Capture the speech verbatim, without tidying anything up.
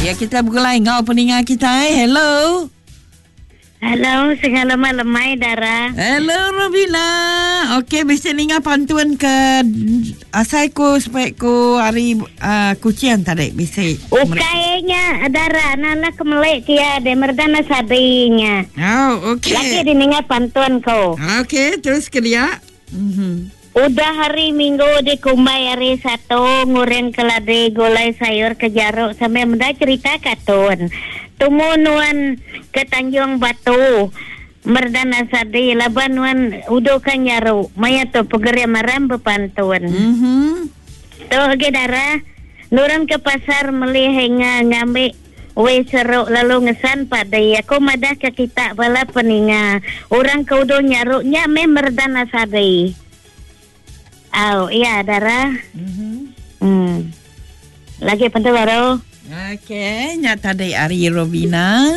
Ya kita bergulai ngau peninga kita. Eh. Hello. Hello, segala malam mai dara. Hello Robina. Okey, mesti ninga pantun ke asai ku supaya ku hari uh, kucing tadi bisi. Ukainya dara nana kemelek kia de merdana sadinya. Oh, okey. Lagi dininga pantun ko. Okey, terus ke dia. Mhm. Udah hari Minggu di Kumbai hari Satu ngureng keladi gulai sayur ke jaruk sampai menda cerita katun. Tumunuan ke Tanjung Batu. Merdana sadi laban wan udo kan nyaru maya tu pegeria maram berpantun. Mhm. Tu ge dara nurang ke pasar meli henga ngambil we seruk lalu ngesan pada aku madah ke kita bala peninga orang ke udo nyaruk nya me merdana sadi. Au, iya dara. Mhm. Hmm. Lagi pentu baru. Okey, nya tadi ari Robina.